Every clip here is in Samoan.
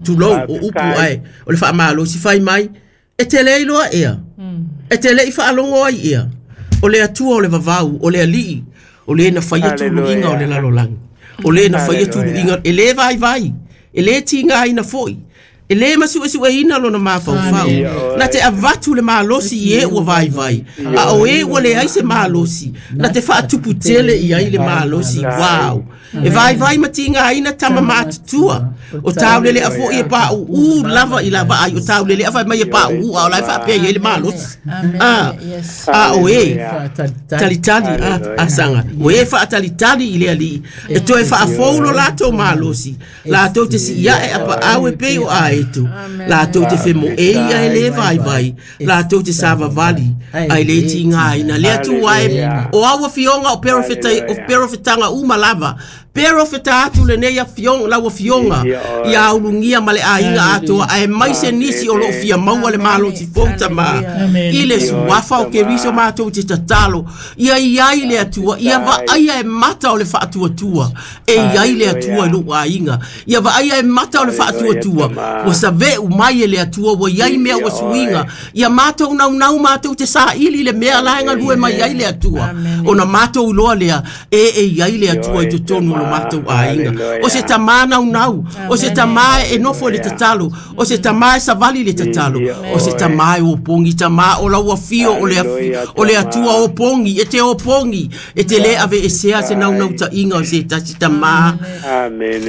Tulou, o upu ae o le faamalosi fai mai, e te le iloa ea, e te le i faalogo ai ea, o le Atua o le vavau, o le Alii, o le na faia tuluiga o le lalolagi, o le na faia tuluiga, e le vaivai, e le tigaina foi, e le masuesueina lona mafaufau. Na te avatu le malosi i e ua vaivai, a o e ua leai se malosi, na te faatupu tele i ai le malosi. Wow! E vaivai ma tigaina tama matutua, o taulele'a foi e paʻuʻū lava i la vaai, o taulele'a fai mai e paʻuʻū, a o la e faapea i ai le malosi. A, a o e talitali a saga, o e faatalitali i le Alii, e toe faafou lo latou malosi, latou te si'iaʻe apaʻau e pei o aeto, latou te femoʻei ae lē vaivai, latou te savavali ae lē tigāina. Le Atua e, o au afioga o perofetaga uma lava, perofeta atu lenei afioga, lau afioga, ia ulugia ma le aiga atoa, aemaise nisi o loo fia maua le malosi fou tamā, i le suafa o Keriso matou te tatalo, ia i ai le Atua, ia vaaia e mata o le faatuatua, e i ai le Atua i lou aiga, ia vaaia e mata o le faatuatua, ua save'u mai e le Atua, ua i ai mea ua suiga, ia matou naunau matou te saili le mea la e galue mai ai le Atua, ona matou iloa lea, e i ai le Atua i totonu o lo matou aiga. O se tamā naunau, o se tamā e nofo i le tatalo, o se tamā e savali i le tatalo, o se tamā e opogi, tamā o lau afio o le, o le Atua opogi, e te opogi, e te lē aveesea se naunautaiga o se tasi tamā.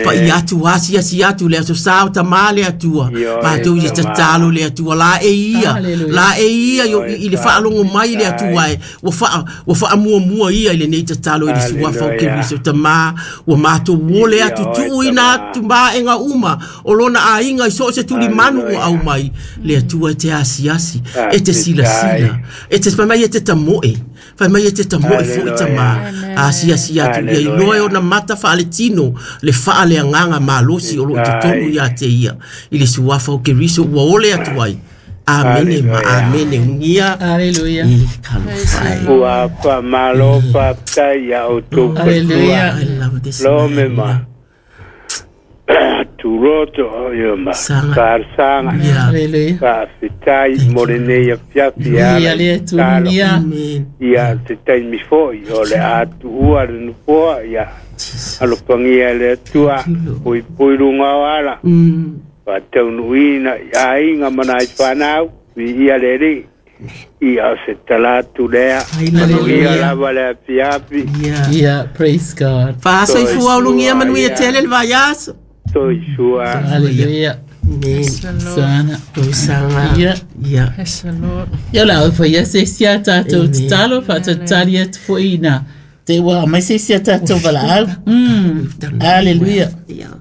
Paia atu, asiasi atu le aso sa o tamā le Atua, matou i te tatalo le Atua, la e ia, la e ia i le faalogo mai le Atua e, ua wha, ua whaamuamua ia i lenei tatalo i le suafa o Keriso tamā, ua matou ole atu tuuina atu maega uma o lona aiga i so o se tulimanu ua aumai, le Atua e te asiasi, e te silasila, e te fai mai e te tamoe, fai mai e te tamoe foi tamā, asiasi atu ia iloa e ona mata faaletino le faaleagaga malosi o loo i totonu ia te ia, i le suafa o Keriso ua ole atu ai. Amene ma amene unia. Hallelujah. I talofa e. Ua faamalo faafetai iā outou Hallelujah. I love this Lo me man. ma tuloto o ia ma Saga. talosaga. Yeah. Hallelujah. Faafetai mo lenei afiafi e Ia ala le i Atua tatalo. unia. Amen. Ia se taimi fo'i o le a tuua le nofoa ia Jesus. alofagia e le Atua Thank you, Lord. puipui luga o ala faataunuuina i aiga ma nai fanau viia le Alii ia o se tala atu lea manuia Hallelujah. lava le afiafi. Yeah. Yeah, praise God. Faasoifua ulugia manuia Soifua, tele le vaiaso. Soifua. Hallelujah. Amen. Sana. Tausaga. Yeah. Yeah. Praise the Lord. Ia la au whai ase isi a tātou Amen. tatalo, whaatatari atu foi ina. Te ua mai se isi a tātou walaau. We've done really Hallelujah. well. Yeah.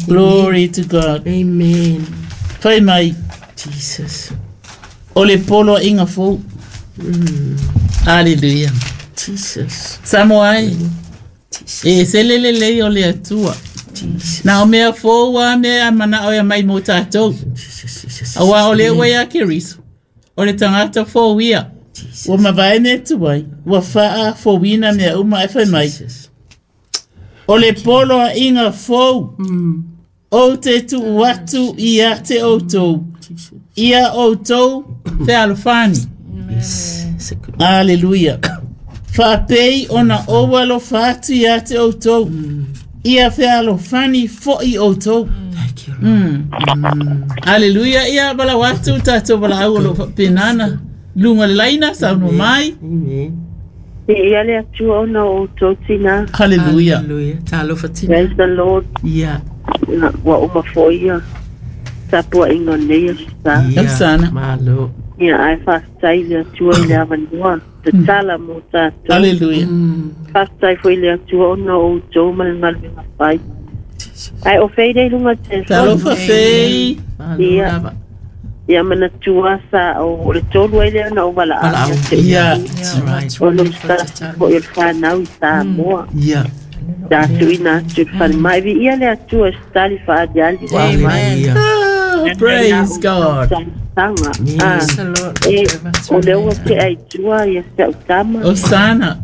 Glory to God. Amen. Whai mai, Jesus. o le polo inga fou. Hallelujah. Jesus. Samoa ai, Jesus. e se lele lei o le Atua. Jesus. Nā o mea fou a mea mana o ia mai mō tātou. Jesus. Jesus. Aua o le ua ia Keriso. O le tangata fou ia. Jesus. Ua mavae mea tuai. Ua whaa fouina mea uma e whai mai. Jesus. O le polo a inga fou. O te tuu atu ia te outou. Jesus. Ia outou fealofani. Yes. It's a good Hallelujah. Whaapei ona o alofa atu ia te outou. Ia fealofani fo'i outou. Thank you, Lord. Hallelujah. Ia wala watu tātou wala au o lo whapenana. Lunga le laina sa no mai. Amen. Ia le Atua ona o outou tina. Hallelujah. Hallelujah. Talofa tina. Praise the Lord. Yeah. Ia, Ua uma foi ia tapuaʻiga o lenei aso sa. Yeah. Sana. Malo. Ia ae faafetai le Atua i le avanoa tatala mo tatou. Hallelujah. Faafetai foi le Atua ona o outou ma le galuega fai. Jesus. Ae o fei lea i luga telefoni. Talofa fei. Malo Ia. lava. Ia manatua sa o le tolu ai lea ona ou valaau Valaau. ia te Ia. outou. That's right. O lo sa foi o le fanau i Samoa. Yeah. Sa tuuina atu i le falemai. Viia le Atua e setali faaliali ua aumai. Hallelujah. Ah, praise God. Talosaga. Praise the Lord. E, o lea ua tea i tua ia si au tama Osana.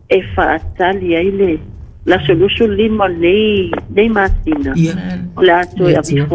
e faatali ai le laso 25 o lenei masina. Yeah. O le a toe avifua